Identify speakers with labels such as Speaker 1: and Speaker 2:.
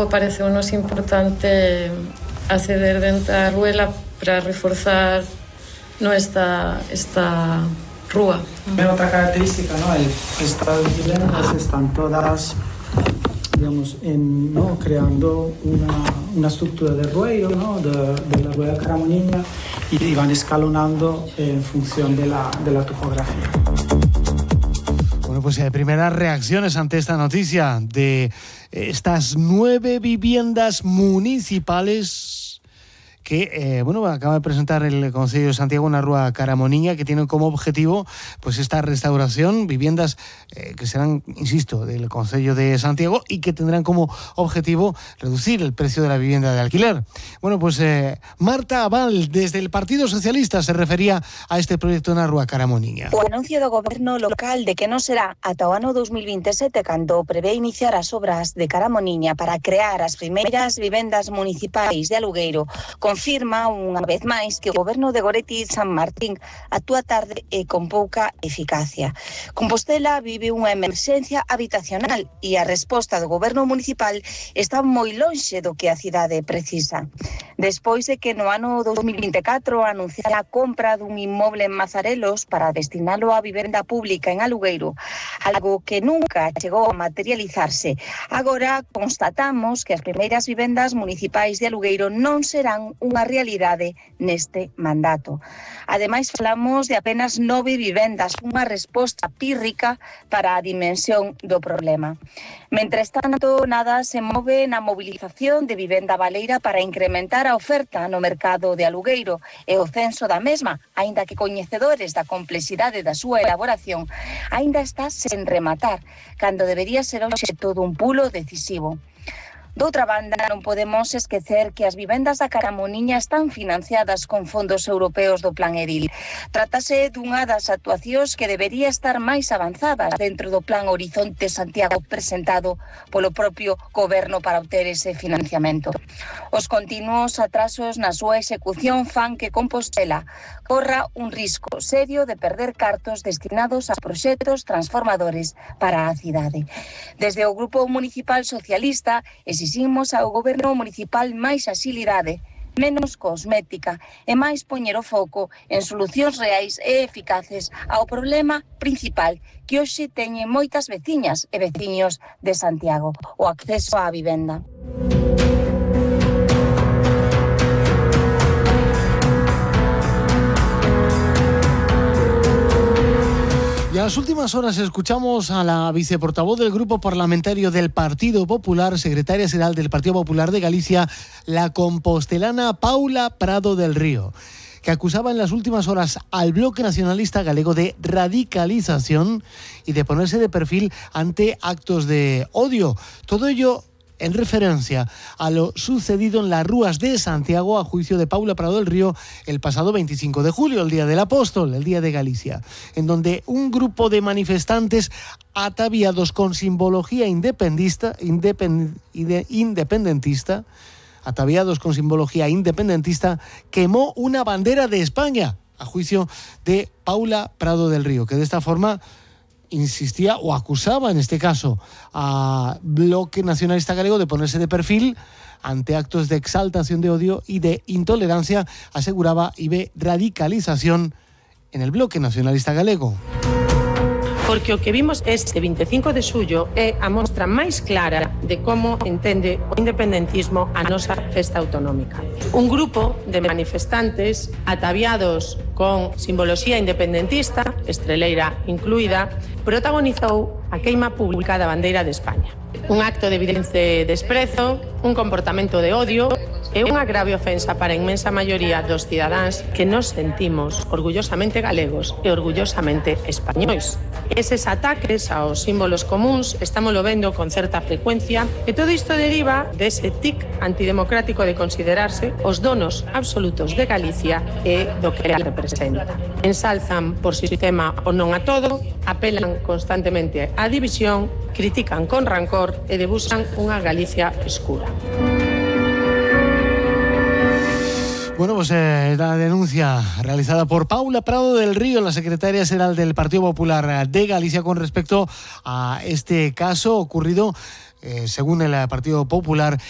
Speaker 1: logo pareceunos importante acceder dentro da Ruela para reforzar esta rúa.
Speaker 2: Otra característica, ¿no? Estas viviendas están todas, digamos, creando una estructura de ruedo, ¿no? de la rueda Caramoniña, y van escalonando en función de la topografía.
Speaker 3: Bueno, pues primeras reacciones ante esta noticia de estas 9 viviendas municipales que acaba de presentar el Concello de Santiago en la Rúa Caramoniña, que tienen como objetivo pues esta restauración, viviendas que serán, insisto, del Concello de Santiago y que tendrán como objetivo reducir el precio de la vivienda de alquiler. Bueno, pues Marta Abal, desde el Partido Socialista, se refería a este proyecto na Rúa Caramoniña.
Speaker 4: O anuncio do Goberno local de que non será ata o ano 2027 cando prevé iniciar as obras de Caramoniña para crear as primeiras vivendas municipais de alugueiro confirma unha vez máis que o Goberno de Goretti San Martín actúa tarde e con pouca eficacia. Compostela vive unha emerxencia habitacional e a resposta do Goberno municipal está moi lonxe do que a cidade precisa. Despois de que no ano 2024 anunciara a compra dun inmoble en Mazarelos para destinalo a vivenda pública en alugueiro, algo que nunca chegou a materializarse, agora constatamos que as primeiras vivendas municipais de alugueiro non serán unha realidade neste mandato. Ademais, falamos de apenas 9 vivendas, unha resposta pírrica para a dimensión do problema. Mentres tanto, nada se move na mobilización de vivenda baleira para incrementar a oferta no mercado de alugueiro e o censo da mesma, aínda que coñecedores da complexidade da súa elaboración, aínda está sen rematar, cando debería ser obxecto dun pulo decisivo. Doutra banda, non podemos esquecer que as vivendas da Caramoniña están financiadas con fondos europeos do Plan Edil. Trátase dunha das actuacións que debería estar máis avanzadas dentro do Plan Horizonte Santiago presentado polo propio Goberno para obter ese financiamento. Os continuos atrasos na súa execución fan que Compostela corra un risco serio de perder cartos destinados a proxectos transformadores para a cidade. Desde o Grupo Municipal Socialista exiximos ao Goberno municipal máis axilidade, menos cosmética e máis poñer o foco en solucións reais e eficaces ao problema principal que hoxe teñen moitas veciñas e veciños de Santiago, o acceso á vivenda.
Speaker 3: Y en las últimas horas escuchamos a la viceportavoz del Grupo Parlamentario del Partido Popular, secretaria xeral del Partido Popular de Galicia, la compostelana Paula Prado del Río, que acusaba en las últimas horas al Bloque Nacionalista Galego de radicalización y de ponerse de perfil ante actos de odio. Todo ello en referencia a lo sucedido en las Rúas de Santiago a juicio de Paula Prado del Río el pasado 25 de julio, el Día del Apóstol, el Día de Galicia, en donde un grupo de manifestantes ataviados con simbología independentista, quemó una bandera de España a juicio de Paula Prado del Río, que de esta forma insistía o acusaba en este caso a Bloque Nacionalista Galego de ponerse de perfil ante actos de exaltación de odio y de intolerancia, aseguraba, y de radicalización en el Bloque Nacionalista Galego.
Speaker 5: Porque o que vimos este 25 de xullo é a mostra máis clara de como entende o independentismo a nosa festa autonómica. Un grupo de manifestantes ataviados con simboloxía independentista, estreleira incluída, protagonizou a queima pública da bandeira de España. Un acto de evidente desprezo, un comportamento de odio e unha grave ofensa para a inmensa maioría dos cidadáns que nos sentimos orgullosamente galegos e orgullosamente españois. Eses ataques aos símbolos comuns estámoslo vendo con certa frecuencia e todo isto deriva dese tic antidemocrático de considerarse os donos absolutos de Galicia e do que representa. Ensalzan por sistema o non a todo, apelan constantemente á división, critican con rancor e debuxan unha Galicia escura.
Speaker 3: Bueno, pues la denuncia realizada por Paula Prado del Río, la secretaria xeral del Partido Popular de Galicia, con respecto a este caso ocurrido, según el Partido Popular,